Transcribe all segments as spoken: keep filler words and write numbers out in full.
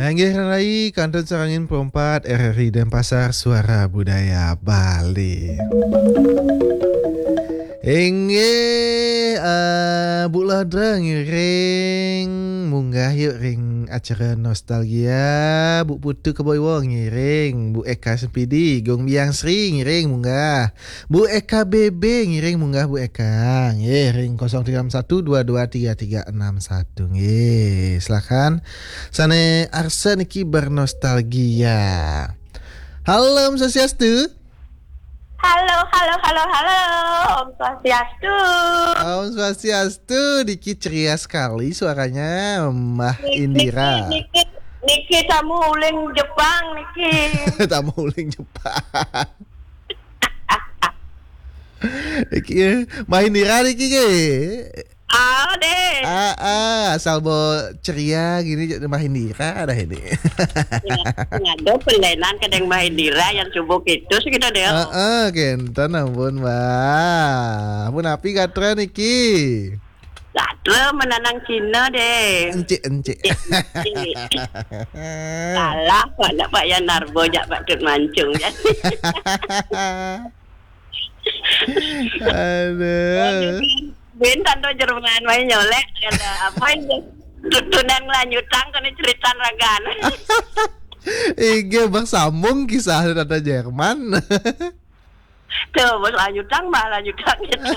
Inggih rai, kantun sareng perempat R R I Denpasar, Suara Budaya Bali. Inggih, eh, Bu Lodra ngiring munggah yuk ring acara nostalgia, Bu Putu Keboiwo ngiring, Bu Eka Sempidi, Gung Biang Sri ngiring munggah. Bu Eka B B ngiring munggah Bu Eka. Nggih, ring kosong tiga enam satu dua dua tiga tiga enam satu. Nggih, silakan. Sane arsa niki bernostalgia. Halo, Om Swastiastu. Halo, halo, halo, halo. Om Swastiastu. Om Swastiastu. Niki ceria sekali suaranya, Mbah Niki, Indira. Niki, niki, niki tamu uling Jepang niki. Tamu uling Jepang. Iki, eh, Mbah Indira niki ke? Ah, deh. Ah, ah, asal bo ceria gini, Mbah Indira dah ini. Ya, ada pelenan kadang Mbah Indira yang subuh itu sih kita deh. Ah, ah, kenten ampun, Mbah. Ampun api gatra niki. Gatra menanang Cina deh. Encik, encik. Encik, encik. Salah, Pak, nak Pak Yan Narbo, jak Pak Tut Mancung, ya. Aduh. Bin tanto Jerman main nyolek, kata apa itu? Tutunan lanjutan kena cerita ragan. Inggih, bersambung kisah tentang Jerman. Tuh, bos lanjutan, bah lanjutan gitu.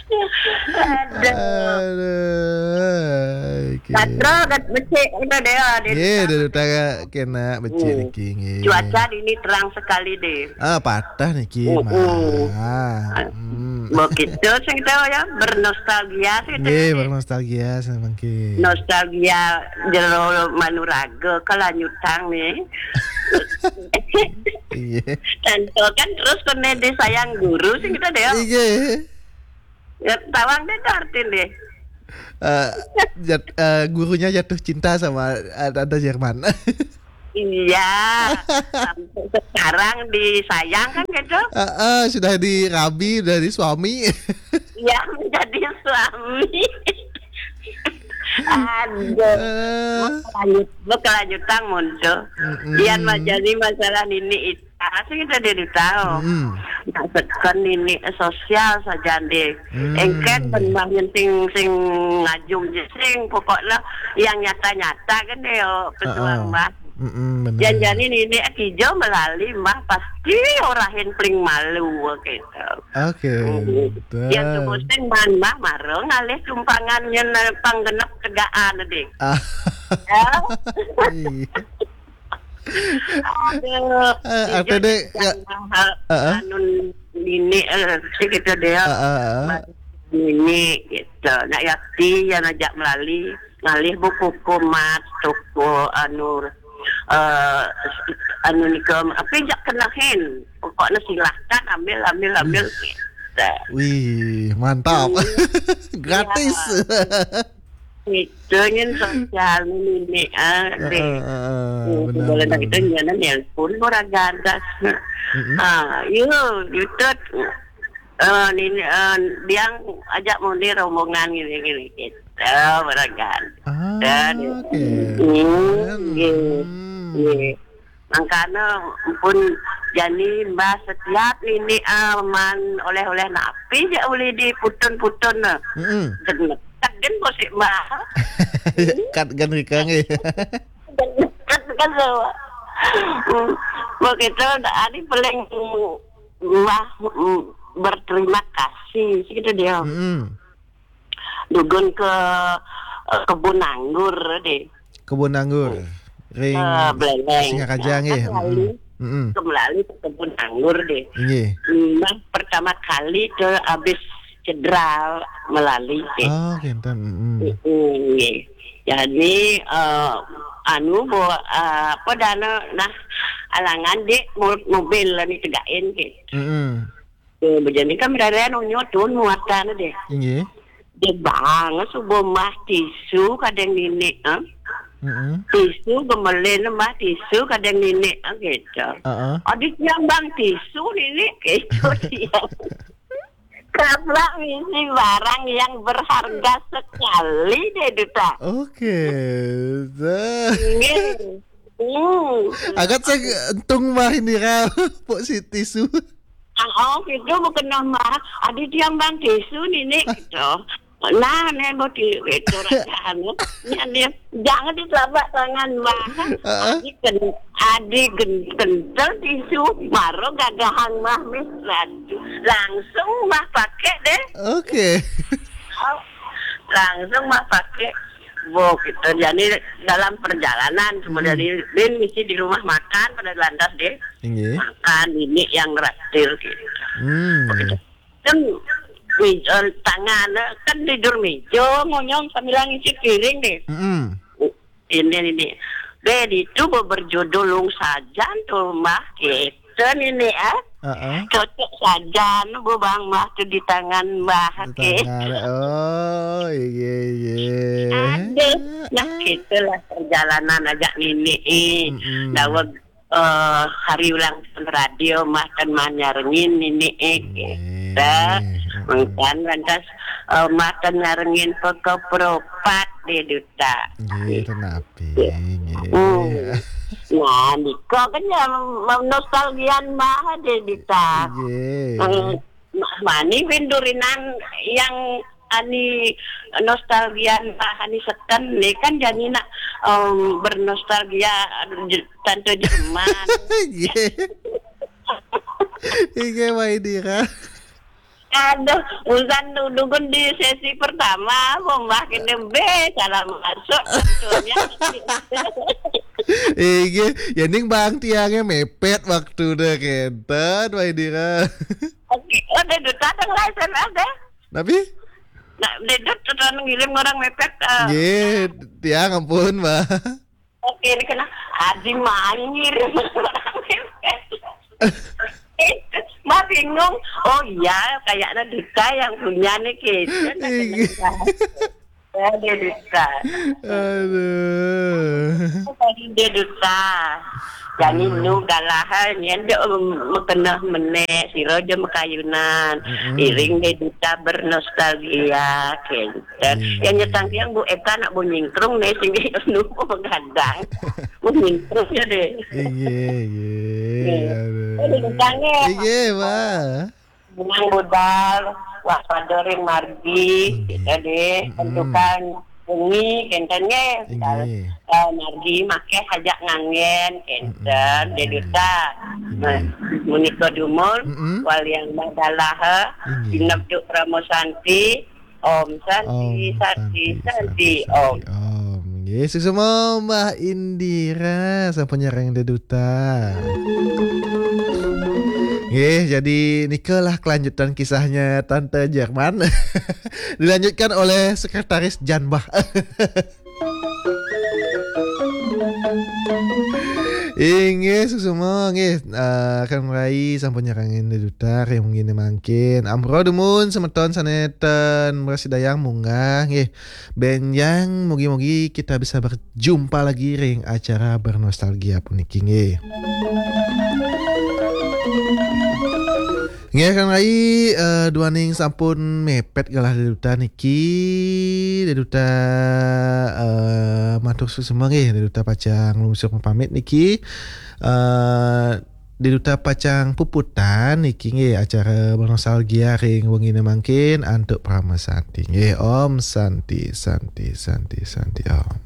Aduh. Aduh, oke. Gatra, gat becik, udah deh, ah, dia Ye, dah utara kena becik Hmm. niki, nggih. Cuaca di ini terang sekali deh. Ah, patah niki, Mm-mm. Mbah. Ah, Hmm. begitu sing kita ya, bernostalgia sih kita Nggih, ini. Bernostalgia semangkin. Nostalgia jero manuraga kelanjutan nih. Iya. Tentu kan terus kena disayang guru sih kita deh. Iya. Ya, tawang deh tuh artin deh. Eh, jat-, eh, gurunya jatuh cinta sama, eh, Tante Jerman. Iya, sampai sekarang disayang kan gitu. Eh, eh, sudah dirabi dari suami. Iya, menjadi suami. Aduh. Eh. Berkelanjut, berkelanjutan muncul. Mm-mm. Yang majani masalah ini itu. Ah, sing itu dia tahu. Mm-mm. Nak tekan ini sosial saja deh. Mm. Engken ben mah sing, sing ngajum je sing pokoknya yang nyata-nyata kan deh, oh, pejuang Ah, ah. Mbah. Mm-mm, bener. Janjani nini kijo melali Mbah pasti orahin paling malu gitu. Oke, Mm. betul. Yang tuh sing man Mbah mareng alih tumpangan yang panggenep tegaan deh. Ah. Ya. Iya. Aduh, Eh, jujur artinya, ya, yang mahal, heeh. Anu nini, eh, sih gitu deh, ya. Heeh, heeh. Nini gitu. Nak yakti yang ajak melali, ngalih buku kumat, toko anu, eh, anu nika, apa jak kenahin. Pokoknya silahkan ambil, ambil, ambil. Wih. Gitu. Wih, mantap. Hmm. Gratis. Ya. Itu nyen sosial nini, ah, deh. Heeh, heeh, Hmm, benar, boleh benar, tak itu benar. Nyen nelpon orang gadas. Mm-mm. Ah, yo, YouTube. Eh, nini, eh, biang ajak muni rombongan gini, gini, gitu. Orang gadas. Ah, Dan, oke. Hmm, Keren. Iya. Hmm. Iya. Mangkana pun jani Mbah setiap nini, ah, man oleh-oleh napi ja ulih diputun-putun, nah. Mm-mm. Genep. Kat gen bosik Mbah. Kat gen rika nggih. Kat gen so. Hmm. Begitu, ani paling Mbah, mm, berterima kasih, gitu dia. Mm-mm. Dugun ke, eh, kebun anggur deh. Kebun anggur. Ring Ke Beleleng. Singaraja Ya, nggih. kan Mm-mm. Melali. Mm-mm. Ke Melali ke kebun anggur deh. Nggih. Nah, pertama kali ke habis cedera Melali deh. Oh, kenten. Mm-mm. Mm-mm, nggih. Jadi, eh, anu, bawa, eh, apa dana, nah, alangan dek mo-, mobil ni tegain ke. Mm-mm. Eh, bejani kan berada nunyo tu muatan deh. Inggih. Dia bang, subuh mah tisu kadang nini, eh? Mm-mm. Tisu gemelin mah tisu kadang nini, eh, gitu. Heeh. Adik yang bang tisu nini, gitu dia. Taplak misi barang yang berharga sekali deh, Duta. Oke. Nggih. Hmm. Agat saya entung mah ini, Ra. Pok si tisu. Ah, oh, gitu, bukan nama. Adi tiang bang tisu nini gitu. Nah, nih mau di itu raja anu. Ini, ini, jangan di telapak tangan mah. Heeh. Adi ken, adi gen, kental tisu, baru gagahan mah mis. Langsung mah pakai deh. Oke. Oh, langsung mah pakai. Bo, gitu. Jadi dalam perjalanan, kemudian, hmm, ini misi di rumah makan, pada lantas deh. Inggih. Makan ini yang traktir gitu. Hmm. Begitu. Kan mi-, eh, tangan, eh, kan tidur meja, ngonyong sambil ngisi piring deh. Mm-mm. Ini, ini. Deh, itu berjudul Lung Sajan tuh, Mbah. Gitu, ini, ah. Heeh. Cocok sajan, Bu Bang, Mbah, tuh di tangan, Mbah. Di tangan. Oh, iya, iya. Aduh, nah, gitulah perjalanan aja, Nini. Mm-mm. Daweg, eh, hari ulang tahun radio, Mbah, kan mah nyarengin, Nini, eh, gitu. Iya. Mm-mm. Mengkan lantas, eh, Mbah, kan nyarengin peke peropat, deh, Duta. Nggih, ten api, nggih. Hmm. Nah, nika kan ya, nostalgian mah deh, Duta. Nggih. Hmm, ma-, mani windurinan yang ani nostalgian mah ani seken nih kan jadi nak, em, bernostalgia, aduh, je-, Tante Jerman. Nggih. Nggih, Mbah Indira. Aduh, usan dudukun di sesi pertama, Mbah kene be, salah masuk sebetulnya. Inggih, ya ning bang tiangnya mepet waktu deh kenten, Mbah Indira. Oke, oh, dia duta dong lah S M S deh. Tapi? Nah, dia duta ngirim orang mepet, eh. Nggih, tiang ampun, Mbah. Oke, ini kena Haji Mangir. Mbak bingung. Oh iya, kayaknya Duta yang punya nih, gitu. Iya. Ya, dia Duta. Aduh. Tadi dia Duta. Jadi, hmm, nu galahan, ya, dia, um, kena menek, siro aja mekayunan. Mm-mm. Iring dia Duta bernostalgia, gitu. Dan iya, yang nyetang tiang Bu Eka nak Bu Nyingkrung nih, sing nupu begadang. Bu Nyingkrung ya deh. Iya, iya. Iya. Aduh. Ini tentangnya. Iya, Pak. Menang budal, waspada ring margi, iya, gitu deh. Mm-mm. Tentukan wengi, kenten nggih. Iya. Misal, eh, margi makeh ajak ngangen, kenten, mm-mm, deh duta. Iya. Nah, menika dumul, mm-mm, waliang madalah, iya, ginep duk Parama Santi, Om Santi, Om Santi, Santi, Santi, Santi, Om. Om. Nggih, suksma Mbah Indira, sampun nyarengin Duta. Nggih, jadi nikalah kelanjutan kisahnya Tante Jerman. Dilanjutkan oleh Sekretaris Jan Bah. Inggih, suksma, nggih. Eh, Kang Rai sampun nyarengin Duta, ring wengi mangkin. Ampura dumun, semeton sane ten mrasidayang munggah, nggih. Benjang, mugi-mugi kita bisa berjumpa lagi ring acara bernostalgia puniki, nggih. Nggih, Kang Rai, eh, duaning sampun mepet galah Dé Duta niki. Dé Duta, eh, matur suksma nggih, Dé Duta pacang lungsur pamit niki. Eh, Dé Duta pacang puputang niki nggih acara bernostalgia ring wengine mangkin antuk Parama Santi. Nggih, Om Santi, Santi, Santi, Santi, Om.